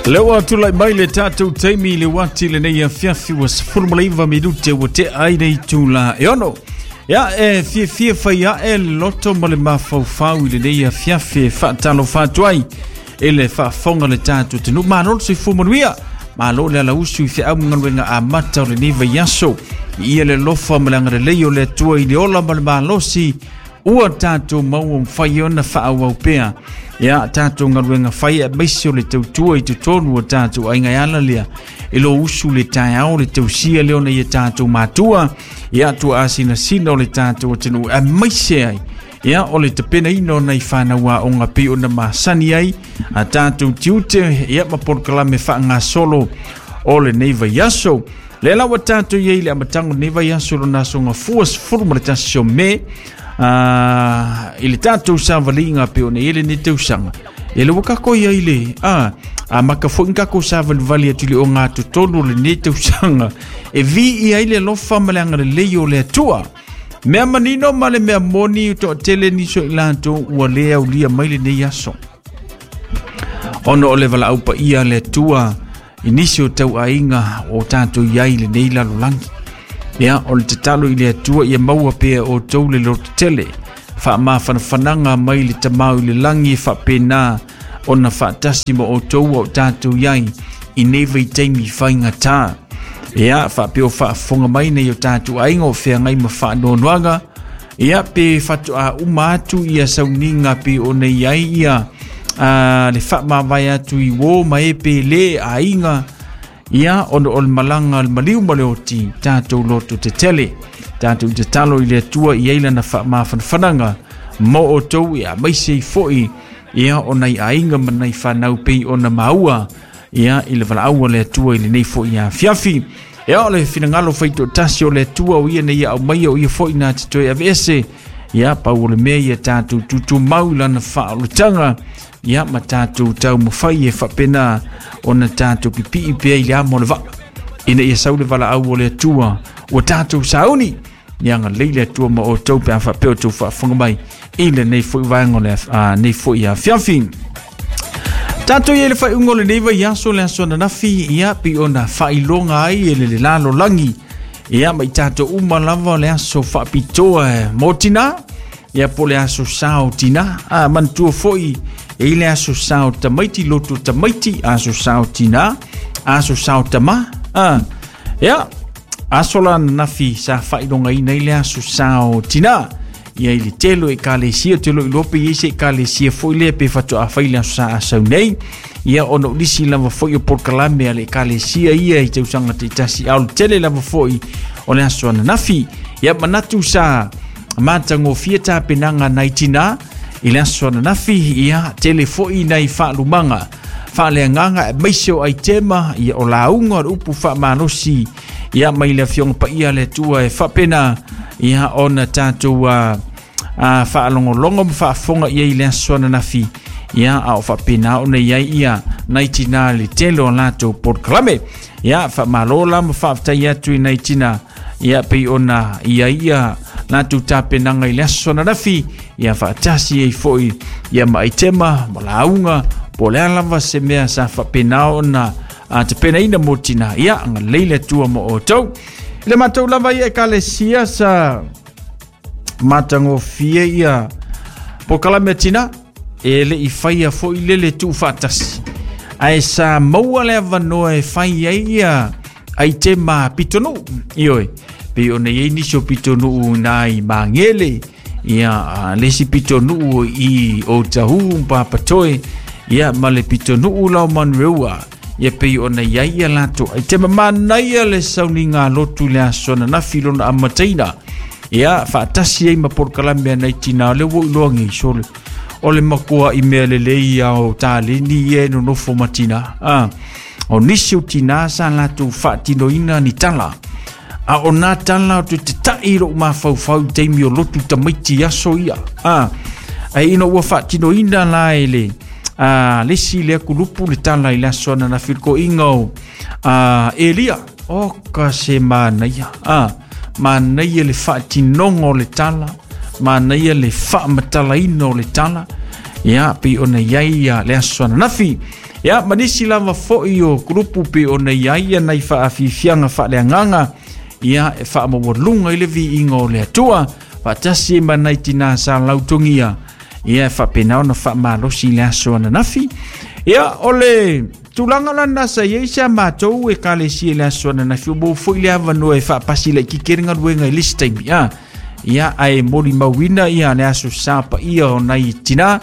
Lea ua tulai mai le tatou taimi i le uati lenei afiafi ua 19 minute ua tea ai le itula e 6. Ia, e fiafia fai ae le loto ma le mafaufau i lenei afiafi e faatalofa atu ai i le faafofoga le tatou atunuu. Malo le soifua manuia, malo le alausu i feau ma galuega amata o lenei vaiaso. Ia le alofa ma le agalelei o le Atua i le ola ma le malosi ua tatou maua mafai ona faaauau pea ia tatou galuega fai aemaise o le tautua i totonu o tatou aiga. E ala lea e lo usu le taeao le tausia lea ona ia tatou matua ia tuaasinasina o le tatou atunuu, aemaise ai ia o le tapenaina o nai fanau aoga pei ona masani ai a tatou tiute ia ma polokalame faagasolo o lenei vaiaso. Lea la ua tatou i ai i le amataga o lenei vaiaso lona aso gafua 11 o Me i le tatou savaliga pei ona i ai lenei tausaga. E le ua kako i ai le a maka foi ni kako savalivali atu i le ogatotonu o lenei tausaga e viia ai le alofa ma le agalelei o le Atua. Mea manino ma le mea moni o toatele nisi o i latou ua le aulia mai lenei aso. Ona o le valaau paia a le Atua i nisi o tauaiga o tatou i ai i lenei lalolagi. Ia, o le tatalo i le Atua ia maua pea outou le lototele, faamafanafanaga mai le Tamau i le lagi e faapena ona faatasi ma outou ua o tatou i ai i nei vaitaimi faigata. Ia, faapea o faafofoga mai nei o tatou aiga o feagai ma faanoanoaga, ia pe faatoa uma atu ia sauniga pe ona i ai ia le faamavae atu i uō ma e pe lē aiga, ia ona o le malaga a le maliu ma le oti, tatou loto tetele, tatou tatalo i le Atua i ai lana faamafanafanaga mo outou, ia aemaise ai foi ia o nai aiga ma nai fanau pei ona maua ia i le valaau a le Atua i lenei foi afiafi. Ia o le finagalo faitoatasi o le Atua o ia nei ia aumaia, o ia foi na te toe aveese. Ia pau o le mea ia tatou tutumau i lana faaolataga, ia ma tatou taumafai e faapena ona tatou pipii pea i le amo o le vaa, ina ia sau le valaau o le Atua ua tatou sauni. Ia agalelei le Atua ma outou pe a faapea outou faafofoga mai i lenei foi vaega o le nei foi afiafi. Tatou i ai le faaiuga o lenei vaiaso, le aso ananafi, ia pei ona faailoga ai e le lalolagi ia ma i tatou uma lava o le aso faapitoa mo tina, ia po le aso sao tina. A manatua foi e i le aso sao tamaiti, loto tamaiti, aso sao tina, aso sao tama. Ia aso la ananafi sa faailogaina ai le aso sao tina. Ia i le tele o ekalesia, te lo iloa pe i ai se ekalesia foi lea pe faatoa fai le aso sa asau nei. Ia ona o nisi lava foi o polokalame a le ekalesia ia i tausaga taitasi, a o le tele lava foi o le aso ananafi. Ia manatu sa matagofie tapenaga nai tina i le aso ananafi, ia tele foi nai faalumaga faaleagaga aemaise o aitema, ia o lauga o le upu faamalosi ia mai le Afioga Paia a le Atua e faapena ia ona tatou faalogologo ma faafofoga i ai i le aso ananafi, ia a o faapena ona i ai ia nai tina le tele o latou polokalame. Ia faamalo la ma faafetai atu i nai tina ia pei ona i ai ia latou tapenaga i le aso ananafi, ia faatasi ai foi ia ma aitema ma lauga po o le a lava se mea sa faapena ona tapenaina mo tina. Ia agalelei le Atua mo outou. I le matou lava ia ekalesia sa matagofie ia polokalame a tina e le i faia foi le le tuufaatasi, ae sa maua le avanoa e fai ai ia aitema pitonuu. Ioe, pei ona i ai nisi o pitonuu ina i Magele, ia le isi pitonuu i Otahuhu ma Papatoe, ia ma le pitonuu la o Manureua, ia pei ona i ai ia latou aitema. Manaia le sauniga lotu i le aso ananafi lona amataina, ia faatasi ai ma polokalame a nai tina o le ua iloa nei sole o le matua i mea lelei ia o taleni ia e nonofo ma tina. O nisi o tina sa latou faatinoina ni tala, a o nā tala o te tatai i lou mafaufau i taimi o lotu tamaiti i aso ia. Ai ina ua faatinoina la e le lesi lea kulupu le tala i le aso ananafi le koiga o Elia. O ka se manaia. Manaia le faatinoga o le tala, manaia le faamatalaina o le tala. Ia pei ona i ai ia le aso ananafi. Ia ma nisi lava fo'i o kulupu pei ona i ai ia nai faafiafiaga faaleagaga ia e faamaualuga i le viiga o le Atua faatasi ai ma nai tinā sa lautogia ia e faapena ona faamalosi i le aso ananafi. Ia o le tulaga lana sa i ai sa matou ekalesia i le aso ananafi, ua maua foi le avanoa e faapasi laitiiti ai le galuega i le isi taimi a. Ia ae molimauina ia le aso sa paia o nai tinā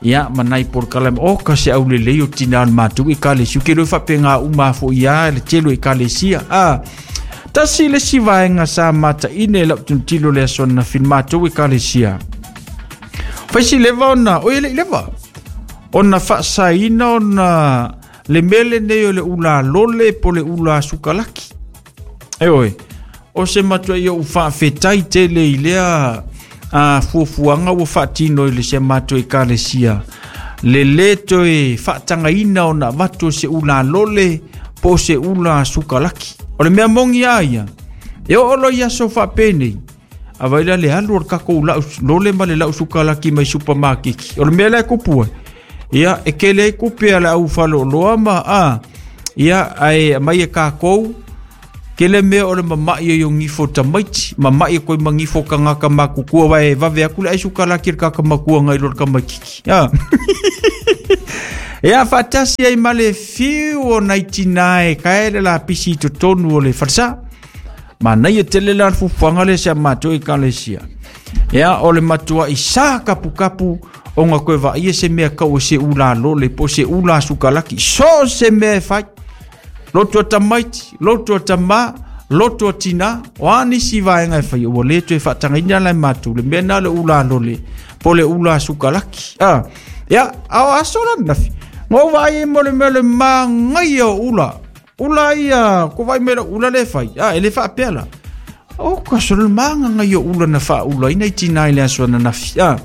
ia ma nai polokalame o ka se aulelei o tinā o le matou ekalesia. Ou te iloa e faapena uma foi lava le tele o ekalesia a. Tasi le isi vaega sa mataine e lau tilotilo i le aso ananafi i le matou ekalesia. Faisi leva ona, oi e le i leva, ona faasaina ona le mea lenei o le ula lole po le ula sukalaki. E oe, o se matuai ou faafetai tele i lea a fuafuaga ua faatino i le se matou ekalesia. Le lē toe faatagaina ona avatu o se ula lole po o se ula sukalaki. O le mea moni a ia, e oo loa i aso faapenei, a vai la le alu o le tatou lau lole ma le lau sukalaki mai supamakeki. O le mea lea e kupu ai, ia e tele ai tupe a le au faleoloa ma a, ia ae aumai e tatou, tele mea o le mama'i ai o gifo tamaiti, mama'i atu ai ma gifo tagata matutua, aua e vave atu le ai sukalaki e le tagata matua nai lo le tamaitiiti. A. Ia faatasi ai ma le fiu o nai tinā e tae le lapisi i totonu o le falesa. Manaia tele la le fuafuaga lea sa matou ekalesia. Ia o le matuai sa kapukapu ona toe vaaia se mea tau o se ula lole po o se ula sukalaki. So se mea e fai. Loto a tamaiti, loto a tamā, loto a tinā, o a nisi vaega e fai, ua le toe faatagaina la e matou le mea na o le ula lole po o le ula sukalaki. A, ia, a o aso la ananafi, na ou vaai ai mo le mea o le manaia o ula. Ula ia, ko vai mai ula le fai. A, e le faapea la. O ka so le manga ia ula na faaulaina i tinā i le aso ananafi. A,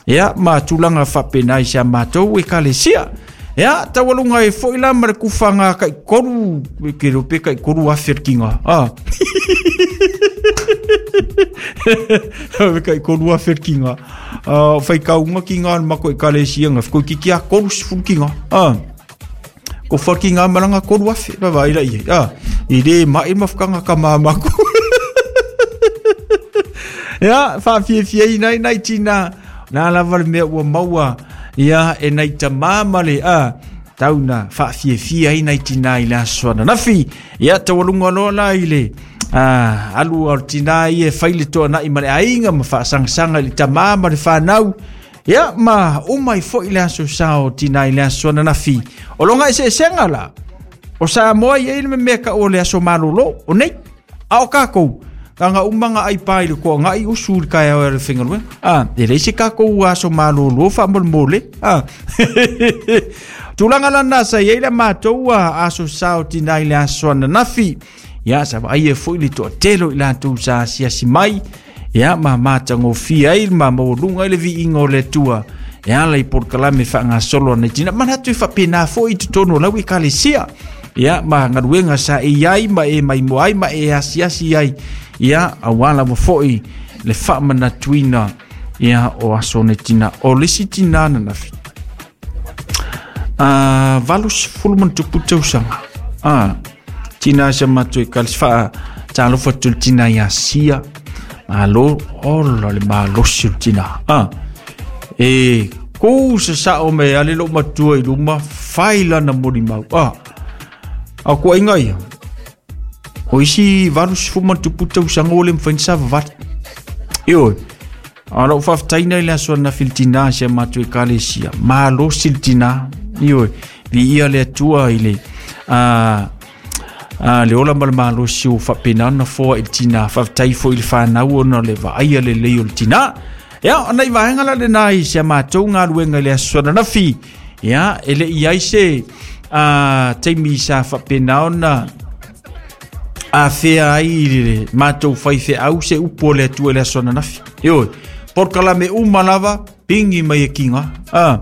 ia, ma tulaga faapena i sa matou ekalesia. Ia, taualuga ai foi la ma le kufaga kai tolu, ke iloa pe kai 3,000 le kiga. A. Kai 3,000 le kiga. A, faitauga kiga o le matou ekalesia na toeitiiti lava 30 kiga. A. Ko whaki ngā maranga 3,000, pa vai la i. Ah, i le mai ma whakanga ka māmako. Ia, whaafiafia i nai nai tina, nā lava le mea ua maua, ia, e nai tamā ma le, a, tau na whaafiafia i nai tina i le aso ananafi. Ia, taualuga loa la i le, a, alu o le tina ia e fai le toanai ma le aiga ma whaasangasanga i le tamā ma le whanau. Ia, ma uma ai foi le aso sa o tinā i le aso ananafi. O loga eseesega la, o Samoa i ai le mea ka o le aso malolo, o nei, a o kākou, taga uma ga ai pā i le toagai usu i le taeao e ala i le faigaluega. A, e leai se tatou aso malolo faamolemole. A, tulaga lana sa i ai le matou aso sa o tinā i le aso ananafi. Ia, sa vaai ai foi le toatele o i latou sa asiasi mai, ia ma matagofie ai ma maualuga ai le viiga o le Atua e ala i polokalame faagasolo a nai tina. Manatu e faapena foi i totonu o lau ekalesia. Ia, ma galuega sa e i ai ma e maimoa ai ma e asiasi ai. Ia, auā lava foi le faamanatuina ia o aso o nai tina. O le isi tina ananafi, a 80 plus tausaga. A, tina sa matou ekalesia faa talofa atu i le tina ia Sia. Malo, ola le malosi o le tina. A, e ku sasao me ale lou matua i luma, fai lana molimau. A, a o kuaiga ia, o isi 80 plus tausaga ua le mafai ona savavali. Ioe, a o lau faafetaina i le aso ananafi i le tina si a matou ekalesia. Malosi le tina. Ioe, viia le Atua i le a, a, le ola ma le malosi ua faapena ona foa i le tina. Faafetai foi i le whanau ona o le vaaia lelei o le tina. Ia, o nai vaega la lena i si a matou galuega i le aso ananafi. Ia, e le i ai se a, taimi sa faapena ona afea ai i le matou faifeau se upu o le Atua i le aso ananafi. Ioe, polokalame uma lava, pigi mai e kiga. A,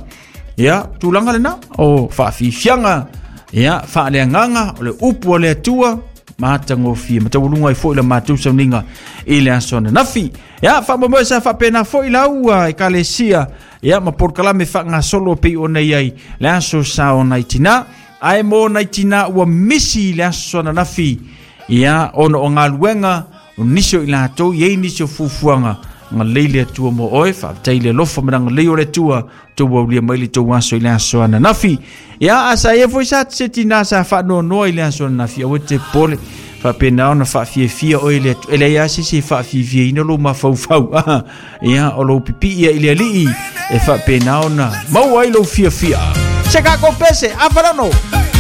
ia, tulaga lena, o faafiafiaga, ia, faaleagaga, o le upu a le Atua, matagofie, ma taualuga ai foi la matou sauniga i le aso ananafi. Ia, faamoemoe sa faapena foi lau ekalesia. Ia ma polokalame faagasolo pei ona i ai le aso sa o nai tinā. Ae mo nai tinā ua misi i le aso ananafi, ia ona o galuega o nisi o i latou, i ai nisi o fuafuaga, agalelei le Atua mo oe. Faafetai i le alofa ma le agalelei o le Atua tou aulia mai le tou aso i le aso ananafi. Ia a sa ia foi sa se tinā sa faanoanoa i le aso ananafi, aua e te popole, faapena ona faafiafia oe le Atua. E leai lava se isi e faafiafiaina lou mafaufau. Ia o lou pipii i le Alii e faapena ona maua ai lou fiafia. Se tatou pese, afa lono.